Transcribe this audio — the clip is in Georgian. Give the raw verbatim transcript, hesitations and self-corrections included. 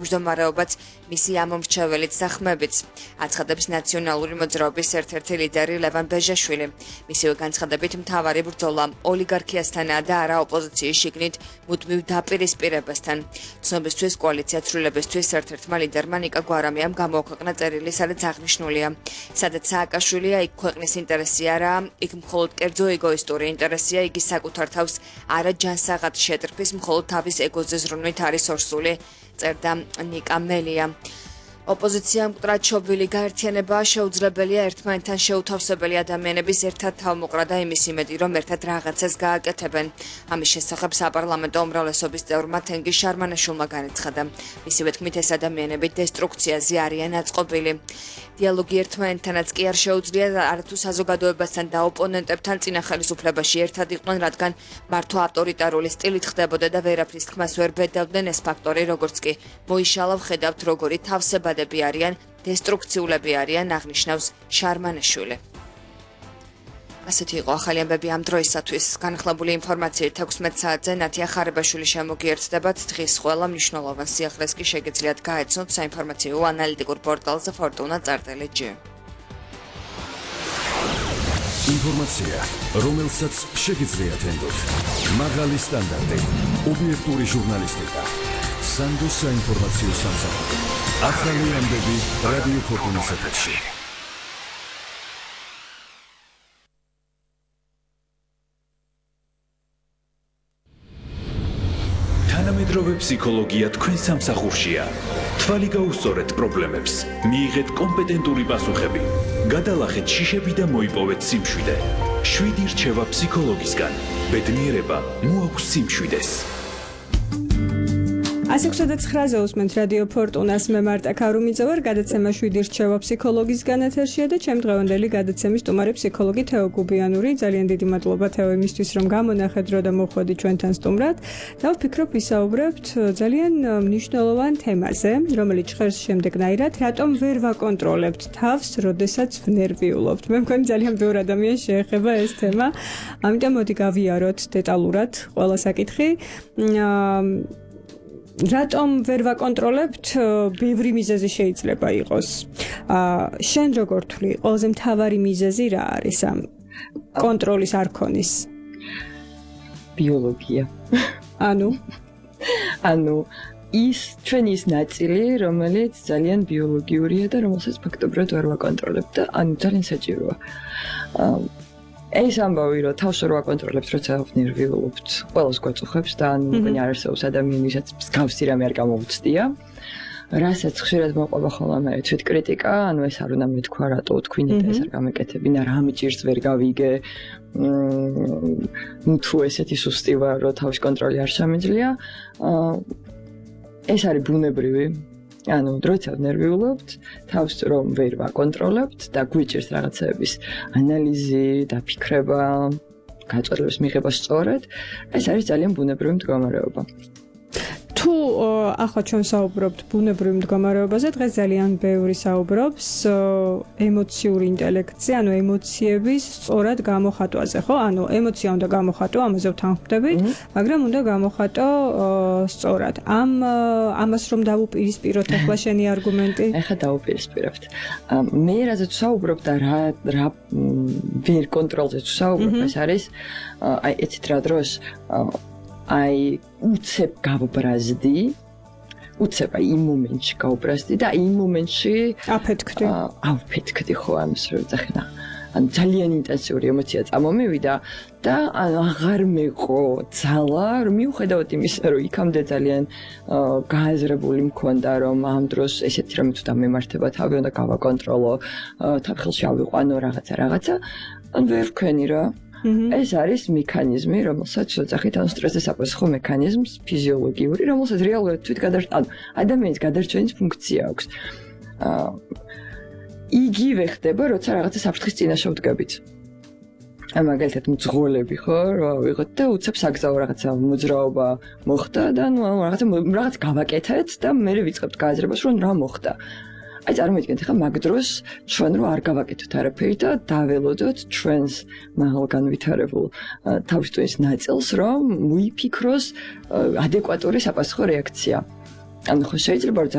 მჯდომარეობაც მისი ამომრჩეველიც და ხმებიც. აცხადებს ნაციონალური მოძრაობის ერთ-ერთი ლიდერი ლევან ბეჟაშვილი. მისივე განცხადებით მთავარი ბრძოლა ოლიგარქიასთანაა და არა ოპოზიციის შიგნით მუდმივ დაპირისპირებასთან. ცნობისთვის კოალიცია ცვლილებისთვის ერთ-ერთმა ლიდერმა ნიკა გვარამიამ გამოაქვეყნა წერილი, სადაც აღნიშნულია, სადაც სააკაშვილია, იქ ქვეყნის ინტერესი არა, იქ მხოლოდ კერძო ეგოისტური ინტერესია, იგი საკუთარ თავს არა ჯანსაღად შეტრფის, მხოლოდ თავის ეგოზე ზრუნვით არის ორსული. წერდა ნიკა მელია. ოპოზიცია მკვდრად შობილი გაერთიანება შეუძლებელია ერთმანეთთან შეუთავსებელი ადამიანების ერთად თავმოყრა და იმის იმედი, რომ ერთად რაღაცას გააკეთებენ. ამის შესახებ საპარლამენტო უმრავლესობის წევრმა თენგიზ შარმანაშვილმა განაცხადა. მისივე თქმით, ეს ადამიანები დესტრუქციაზე არიან აწყობილი. დიალოგი ერთმანეთთანაც კი არ შეუძლია არათუ საზოგადოებასთან და ოპონენტებთან წინა ხელისუფლებაში ერთად იყვნენ, რადგან მართვა ავტორიტარული სტილით ხდებოდა და ვერაფრის თქმას ვერ ბედავდნენ ეს ფაქტორი, როგორც კი მოიშალა ვხედავთ, როგორი თავსებადები არიან, დესტრუქციულები არიან, აღნიშნავს შარმანაშვილი. ასეთი იყო ახალი ამბები ამ დროისათვის. განხლებული ინფორმაციით ექვსმეტ საათზე ნათია ხარებაშვილი შემოგიერთდებათ. დღის ყველა მნიშვნელოვან სიახლეს კი შეგეძლიათ გაეცნოთ საინფორმაციო ანალიტიკურ პორტალზე Fortuna წერტილი ჯი. ინფორმაცია, რომელსაც შეგიძლიათ ენდოთ. მაღალი სტანდარტი, ობიექტური ჟურნალისტიკა. სანდოს საინფორმაციო სამსახური. ახალი ამბები რადიო Fortuna's ეთერში. თანამედროვე ფსიქოლოგია თქვენ სამსახურშია. თვალი გაუსწორეთ პრობლემებს, მიიღეთ კომპეტენტური პასუხები, გადალახეთ შიშები და მოიპოვეთ სიმშვიდე. შვიდი რჩევა ფსიქოლოგისგან. ბედნიერება მოაქვს სიმშვიდეს. ასი ოცდაოთხ ცხრაზე უსმენთ რადიო Fortuna's მე მარტა ქარუმიძე ვარ, გადაცემა შვიდი რჩევა ფსიქოლოგისგან ეთერშია და ჩემ დღევანდელი გადაცემის სტუმარი ფსიქოლოგი თეო გუბიანური. ძალიან დიდი მადლობა თეო იმისთვის, რომ გამონახეთ დრო და მოხვედით ჩვენთან სტუმრად. და ვფიქრობ ვისაუბრებთ ძალიან მნიშვნელოვან თემაზე, რომელიც ჟღერს შემდეგნაირად, რატომ ვერ ვაკონტროლებთ თავს, როდესაც ვნერვიულობთ. მე მგონი ძალიან ბევრ ადამიანს შეეხება ეს თემა. ამიტომ მოდი გავიაროთ დეტალურად ყველა საკითხი. რატომ ვერ ვაკონტროლებთ? ბევრი მიზეზი შეიძლება იყოს. შენ როგორ თვლი, ყველაზე მთავარი მიზეზი რა არის ამ კონტროლის არქონის? ბიოლოგია. ანუ ანუ ის ჩვენი ის ნაწილი, რომელიც ძალიან ბიოლოგიურია და რომელსაც ფაქტობრივად ვერ ვაკონტროლებთ და ანუ ძალიან საჭიროა. ეს ამბავი, რომ თავს ვერ ვაკონტროლებთ, როცა ვნერვიულობთ, ყველას გვაწუხებს და ანუ მგონი არ არსებობს ადამიანი, ვისაც მსგავსი რამე არ გამოუცდია. რასაც ხშირად მოყვება ხოლმე მე თვით კრიტიკა, ანუ ეს არ უნდა მეთქვა, რატო თქვენი და ეს არ გამეკეთებინა, რა მიჭირს ვერ გავიგე. ნუ თუ ესეთი სუსტი ვარ, რომ თავის კონტროლი არ შემიძლია. ეს არის ბუნებრივი. ანუ დროცა ვნერვიულობთ, თავს რომ ვერ ვაკონტროლებთ და გვიჭირს რაღაცების ანალიზი, დაფიქრება, გაწყვეტილების მიღება სწორად, ეს არის ძალიან ბუნებრივი მდგომარეობა. თუ ახლა ჩვენ საუბრობთ ბუნებრივ მდგომარეობაზე, დღეს ძალიან ბევრი საუბრობს ემოციური ინტელექტზე, ანუ ემოციების სწორად გამოხატვაზე, ხო? ანუ ემოცია უნდა გამოხატო, ამაზე ვთანხმდებით, მაგრამ უნდა გამოხატო სწორად. ამ ამას რომ დავუპირისპიროთ ახლა შენი არგუმენტი? ახლა დავუპირისპირებთ. მე რაზეც საუბრობ და რა რა ვერ კონტროლზე საუბრობ, ეს არის აი ეცით რა დროს აი უცებ გავბრაზდი, უცებ აი იმ მომენტში გავბრაზდი და იმ მომენტში აფეთქდი. აფეთქდი ხო ამის რო ძახნა. ან ძალიან ინტენსიური ემოცია წამომივიდა და ან აღარ მეყო ძალა, რომ მიუხედავად იმისა, რომ იქამდე ძალიან გააზრებული მქონდა, რომ ამ დროს ესეთი რამე თუ დამემართება, თავი უნდა გავაკონტროლო, თავხელში ავიყვანო რაღაცა რაღაცა, ან ვერ ვქენი რა. ეს არის მექანიზმი, რომელსაც შეძახით ან სტრესის საპასუხო მექანიზმს, ფიზიოლოგიური, რომელსაც რეალურად თვით გადარჩენ ადამიანის გადარჩენის ფუნქცია აქვს. იგივე ხდება, როცა რაღაცა საფრთხის წინაშე ვდგებით. აი მაგალითად მძღოლები ხო, რა ვიღოთ და უცებ საგზაო რაღაცა მოძრაობა მოხდა და ნუ რაღაცა რაღაც გავაკეთეთ და მე ვიწყებთ გააზრებას, რომ რა მოხდა. აი წარმოიდგინეთ ახლა მაგ დროს ჩვენ რო არ გავაკეთოთ არაფერი და დაველოდოთ ჩვენს მაღალ განვითარებულ თავისთავის ნაწილს, რომ ვიფიქროს ადეკვატური საპასუხო რეაქცია. ანუ ხო შეიძლება